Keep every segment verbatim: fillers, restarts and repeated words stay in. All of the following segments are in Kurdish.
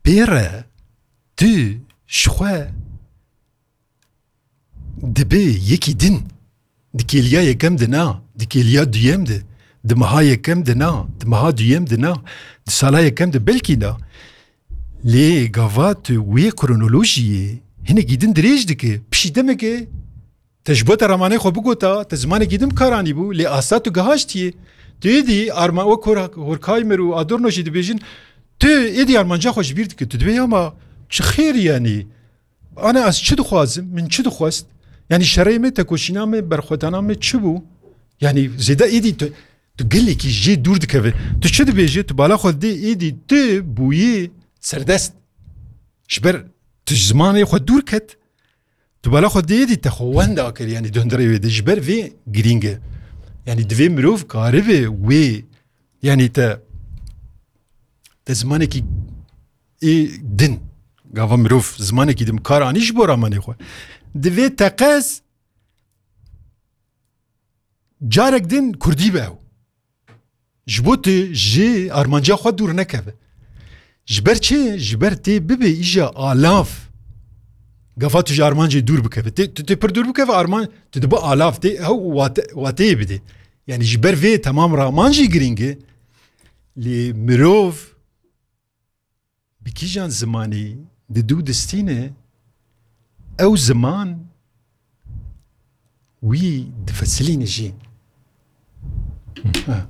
pê re tu ji xwe dibe yekî din. Di kêliya yekem de na, di kêliya duyem de, di meha yekem de na, di meha duyem de na, di sala yekem de belkî na. Lê gava tu wê kronolojiyê hinekî din dirêj dike, pişî demeke te ji bo te ramanê xwe bigota, te zimanekî din bi kar anîbû, lê asta tu gihaştiye. Tu êdî arma-, wek Hor-, Horkheimer û Adorno jî dibêjin, tu êdî armanca xwe ji bîr dike. Tu dibê ya ma çi xêr yanî? Ana ez çi dixwazim? Min çi dixwest? Yanî şerê me, tekoşîna me, berxwedana me çi bû? Yanî zêde êdî tu, tu gelekî jê dûr dikeve. Tu çi dibêjî? Tu bala xwe dê êdî tu bûyî serdest. Ji ber tu ji zimanê xwe dûr ket, tu bala xwe dê êdî te xwe wenda kir, yanî di hundirê wê de. Ji ber vê girîng e. Yanî divê mirov karibe wê, yanî te, te zimanekî ê din, gava mirov zimanekî din bi kar anî ji bo ramanê xwe. Divê teqez carek din kurdî be ew. Ji bo tu ji armanca xwe dûr nekeve. Ji ber çi? Ji ber tê bibe îja alav. Gava tu ji armancê dûr bikeve. Tê, tu tê pir dûr bikeve arman, tu dibe alav tê, ew wate-, wateyê bidê. Yanî ji ber vê temam raman jî girîng e. Lê mirov bi kîjan zimanî di dû distîne, ew ziman wî difesilîne jî. Ha.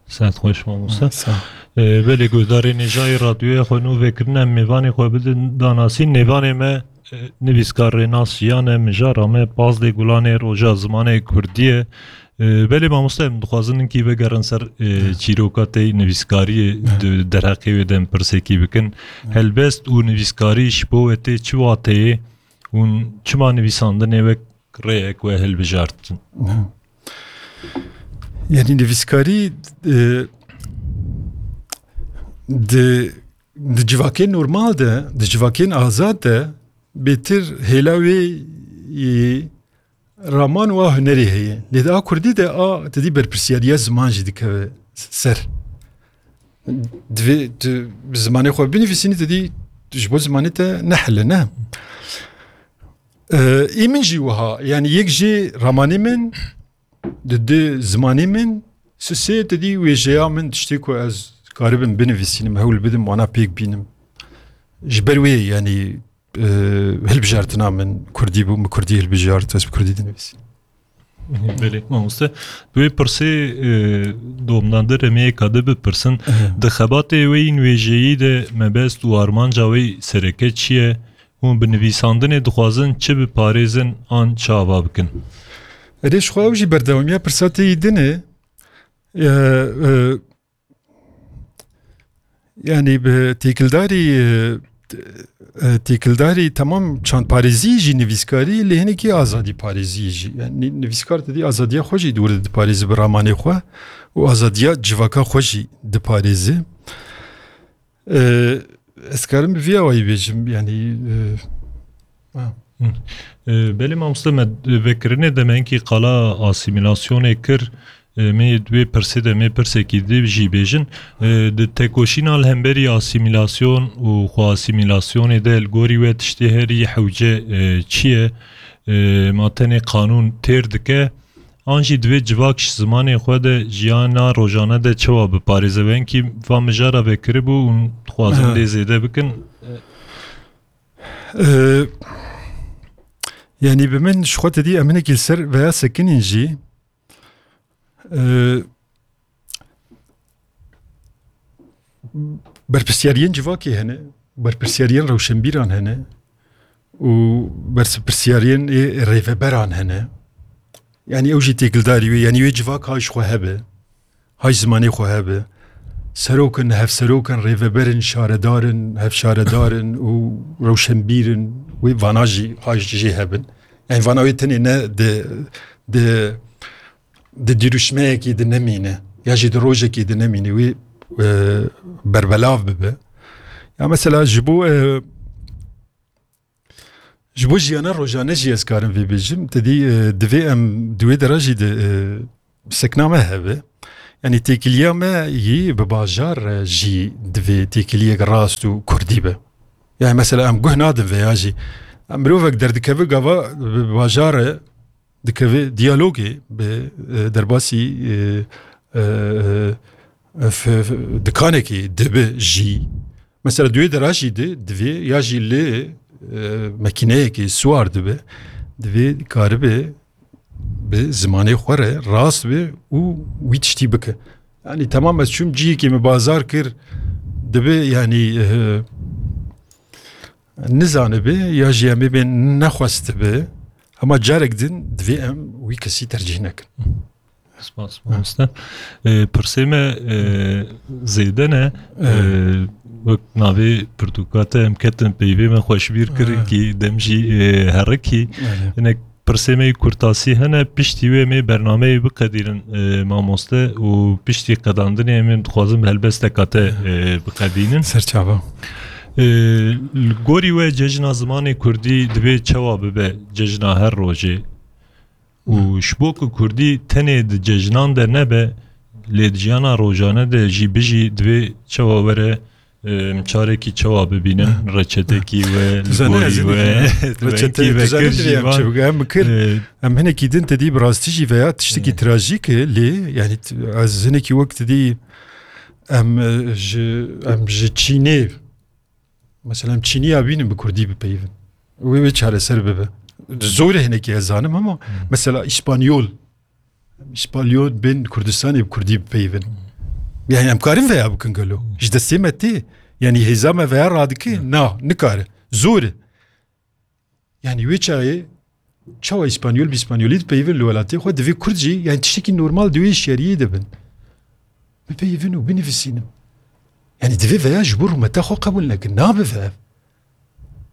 Saet xweş mamoste. Sağ ol. Ee, belê guhdarê nêjayê radyoya xwe nû vekirine, em mêvanê xwe bidin danasîn. Mêvanê me, e, nivîskar Rênas Jiyan e, mijara me pazdeh Gulanê Roja Zimanê Kurdî ye. Ee, belê mamoste, em dixwazin hinkî vegerin ser, e, çîroka te yî nivîskariyê, di derheqê wê de em pirsekî bikin. Helbest û nivîskarî ji bo we tê çi wateyê? Hûn çima nivîsandinê wek rêyek we hilbijartin? Yanî nivîskarî, e, di, di civakên normal de, di civakên azad de bêtir hêla wê, e, raman û a hunerê heye. Lê di a kurdî de a, te dî berpirsiyariya ziman jî dikeve ser. Divê tu bi zimanê xwe binivîsînî, te dî ji bo zimanê te nehile, ne? Ee, ê min jî wiha, yanî yek jê ramanê min, di du zimanê min, sisê te dî wêjeya min, tiştê ku ez karibim binivîsînim, hewl bidim, wana pêk bînim. Ji ber wê, yanî, e, hilbijartina min kurdî bû, min kurdî hilbijart, ez bi kurdî dinivîsim. Belê, mamoste. Bi wê pirsê, e, domdan de remeyeka de bipirsin. Di xebatê we yên wêjeyî de mebest û armanca we sereke çi ye? Hûn bi nivîsandinê dixwazin çi biparêzin an çi ava bikin? Erê, ji xwe ew jî berdewamiya pirsa te yî din e. E, e, Yanî bi têkildarî, e, e, têkildarî temam çandparêzî jî nivîskarî lê hinekî azadî parêzî jî. Yanî nivîskar te dî azadiya xwe jî dûr diparêzi bi ramanê xwe û azadiya civaka xwe jî diparêzi. E, ez karim bi vî awayî bêjim, yanî, e, ha. Hı. E, belê mamoste, me vekirinê de me hinkî qala asîmîlasyonê kir. E, me yê di wê pirsê de me pirsekî di jî bêjin. E, di tekoşîna li hemberî asîmîlasyon û xwe asîmîlasyonê de li gorî we tiştê herî hewce, e, çi ye? E, ma tenê qanûn têr dike, an jî divê civak ji zimanê xwe de jiyana rojane de çawa biparêze? Wengî va mijara vekiribû û dixwazin Ha. lê zêde bikin. E, yanî bi min ji xwe te dî em hinekî li ser veya sekinîn jî. E, berpirsiyariyên civakê hene, berpirsiyariyên rewşenbîran hene û berpirsiyariyên ê rêveberan hene. Yanî ew jî têkildarî wê, yanî wê civak ha ji xwe hebe, ha ji zimanê xwe hebe. Serok in, hevserok in, rêveber in, şaredar in, hevşaredar in û rewşenbîr in. Wê vana jî ha jê hebin. Yanî vana wê tenê ne di, di di dirûşmeyekî de nemîne, ya jî di rojekî de nemîne, wî, e, berbelav bibe. Ya mesela ji bo, e, ji bo jiyana rojane jî ez karim vê bêjim, te dî, e, divê em di wê dera jî de, e, sekna me hebe. Yanî têkiliya me yî bi bajar, e, jî divê têkiliyek rast û kurdî be. Yani mesela em guh nadin veya jî mirovek derdikeve gava bi bajarê dikeve diyalogê bi, e, derbasî, e, e, e, f-, f-, dikanekî dibe jî. Mesela di wê dera jî di, divê ya jî lê, e, mekîneyekî siwar dibe, divê karibe bi zimanê xwe re rast be û wî tiştî bike. Yani tamam ez çûm cihekê min bazar kir, dibe yani, e, nizanibe ya jî em ê bê nexwestibe, ama carek din divê em wî kesî tercîh nekin. Spas, mamoste. E, pirsê me, e, zêde ne. E, wek navê pirtûka te em ketin peyvê me xweşbîr kirin kî dem jî, e, herikî. Hinek pirsê me yî kurtasî hene, piştî wê em ê bernameyê biqedînin, e, mamoste, û piştî qedandinê em ê dixwazin bi helbesteka te, e, biqedînin. Serçava. E, li gorî we cejna zimanê kurdî divê çawa bibe cejna her rojê? Û ji bo ku kurdî tenê di cejnan de nebe, lê di jiyana rojane de jî bijî, divê çawa were, em, çarekî çawa bibînin, reçetekî we, li gorî we, reçete, wengî vekir jî van. Em kir, e, em hinekî din te dî bi rastî jî veya tiştekî trajîk e, lê, yani, t-, ez hinekî wek te dî, em, e, ji, em ji Çînê, mesela, em Çîniya bînin bi kurdî bipeyivin. Wê, wê çareser bibe. Zor e hinekî ez zanim ama, mesela, Îspanyol, Îspanyol bên Kurdistanê bi kurdî bipeyivin. Yani em karin veya bikin gelo. Ji destê me tê. Yani hêza me veya radike? Na, nikare. Zor e. Yani wê çaxê çawa Îspanyol bi Îspanyolî dipeyivin li welatê xwe, divê Kurd jî, yani tiştekî normal di wê hişyariyê de bin. Bipeyivin û binivîsînin. Yani divê veya ji bo rûmeta xwe qebûl nekin. Nabive ev.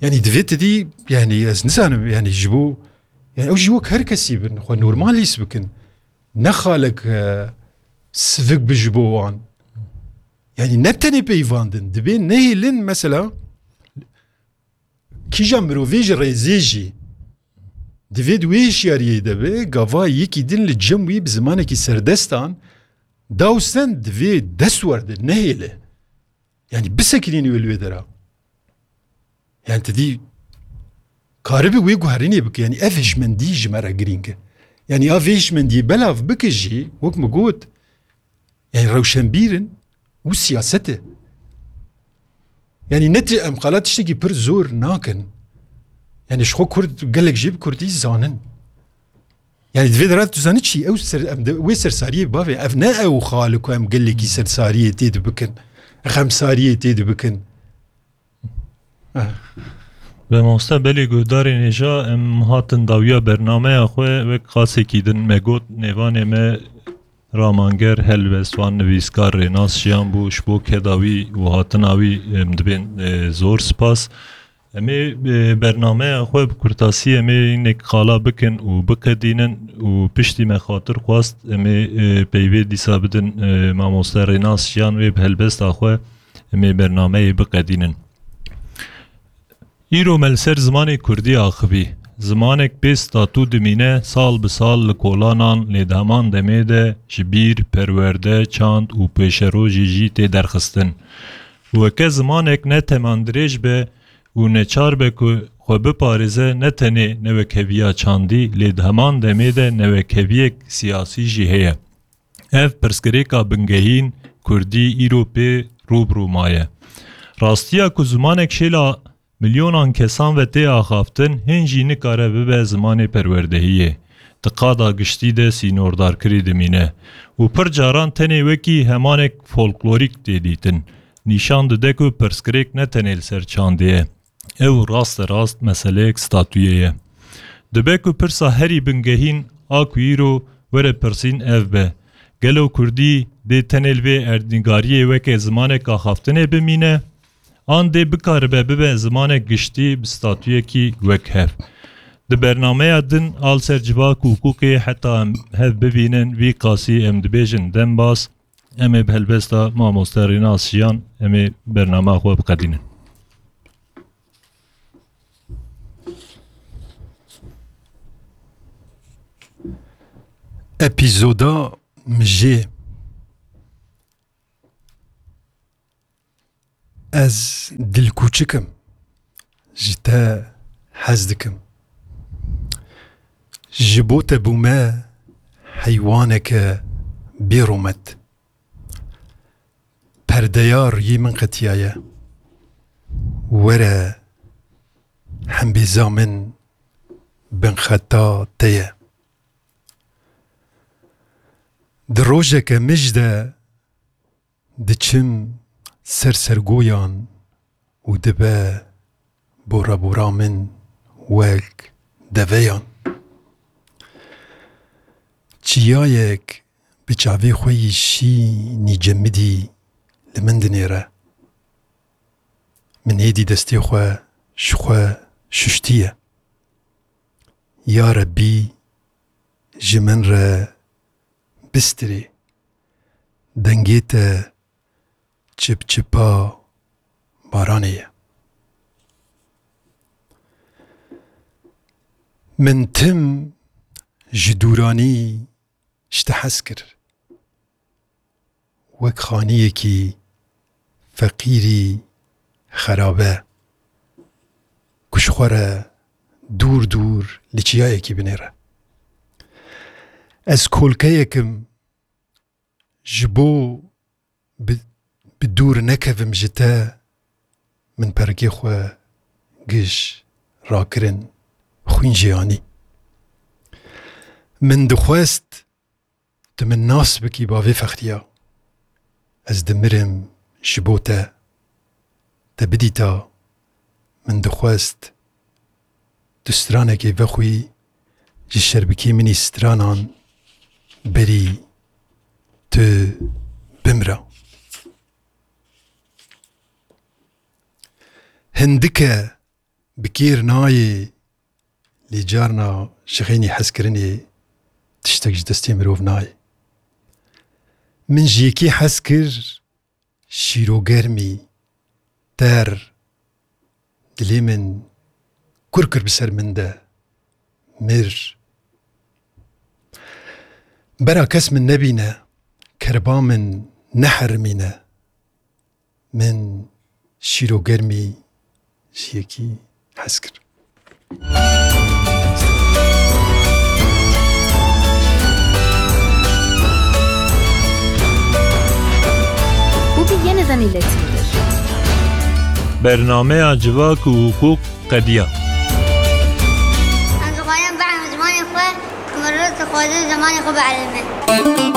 Yani divê te dî, yani ez nizanim, yani ji bo, yani ew jî wek her kesî bin, xwe normal hîs bikin. Ne xalek, e, sivik bi ji bo wan. Yani ne tenê peyvandin, divê nehêlin mesela kîja mirovê ji rêzê jî divê di wê hişyariyê de be, gava yekî din li cem wî bi zimanekî serdestan dawsen divê dest werde, nehêle. Yani bisekinînî wê li wê dera. Yani te dî karibe wê guherînê bike. Yani ev hişmendî ji me re girîng e. Yani ya vê hişmendiyê belav bike jî, wek min got, yani rewşenbîr in û siyaset e. Yani ne ti-, em qala tiştekî pir zor nakin. Yani ji xwe Kurd gelek jê bi Kurdî zanin. Yani di vê dera tu zanî çi? Ew ser, em de, wê sersariyê bavê. Ev ne ew xal ku em gelekî sersariyê tê dibikin, xemsariyê tê dibikin. Eh. Be mamoste, belê guhdarên hêja, em hatin dawiya bernameya xwe wek qasekî din me got, nêvanê me ramanger, helbestvan, nivîskar Rênas Jiyan bû. Ji bo keda wî û hatina wî, em, dibên, e, zor spas. Em ê, e, bernameya xwe bi kurtasî em ê hinek qala bikin û biqedînin û piştî me xatir xwest em ê, e, peyvê dîsa bidin, e, mamoste Rênas Jiyan wê bi helbesta xwe em ê bernameyê biqedînin. Îro me li ser zimanê kurdî axivî. Zimanek bê statû dimîne, sal bi sal li kolanan, lê di heman demê de ji bîr, perwerde, çand û pêşerojê jî tê derxistin. Weke zimanek ne temandirêj be û neçar be ku xwe biparêze, ne tenê newekheviya çandî, lê di heman demê de newekheviyek siyasî jî heye. Ev pirsgirêka bingehîn kurdî îro pê rû bi rû maye. Rastiya ku zimanek şêla milyonan kesan ve tê axaftin, hîn jî nikare bibe zimanê perwerdehiyê. Di qada giştî de sînordarkirî dimîne û pir caran tenê wekî hemanek folklorîk tê dîtin. Nîşan dide ku pirsgirêk ne tenê li ser çandê ye. Ew raste rast meseleyek statûyê ye. Dibe ku pirsa herî bingehîn a ku îro were pirsîn ev be, gelo kurdî dê tenê li vê erdnîgariyê weke zimanek axaftinê bimîne, an dê bikaribe bibe zimanek giştî bi statûyekî wekhev? Di bernameya din a li ser civak û hiqûqê heta em hev bibînin, vî qasî em dibêjin dem bas. Em ê bi helbesta mamoste Rênas Jiyan em ê bernama xwe biqedînin. Epîzoda Mijê. Ez dilkûçik im, ji te hez dikim. Ji bo te bûme heywaneke bêromet. Perdeya riyê min qetiyaye. Were hembêza min binxeta te ye. Di rojeke mij de diçim ser sergoyan û dibe bora bora min wek deveyan. Çiyayek bi çavê xwe yî şînî cemidî li min dinêre. Min êdî destê xwe ji xwe şuştiye. Ya Rebbî, ji min re bistirê. Dengê te çipçipa baranê ye. Min tim ji dûranî ji te hez kir. Wek xaniyekî feqîrî xerabe, ku ji xwe re dûr dûr li çiyayekî binêre. Ez kolkeyek im, ji bo bi, bi dûr nekevim ji te, min perikê xwe giş rakirin xwîn jê anî. Min dixwest tu min nas bikî bavê fexriya. Ez dimirim ji bo te. Te bidîta, min dixwest tu stranekê vexwî ji şerbikê min î stranan berî tu bimra. Hindike bi kêr nayê, lê carna ji xeynî hezkirinê tiştek ji destê mirov nayê. Min ji yekî hez kir, şîrogermî, ter, dilê min kur kir bi ser min de, mir. Bera kes min nebîne, kerba min neherimîne. Min şîrogermî ji yekî hez kir. Bu bir yeniden iletildi. Bernameya Civak û Hukuk qediya. Em dixwazin bielîmin zimanê xwe, ku mirov dixwaze zimanê xwe bielîme.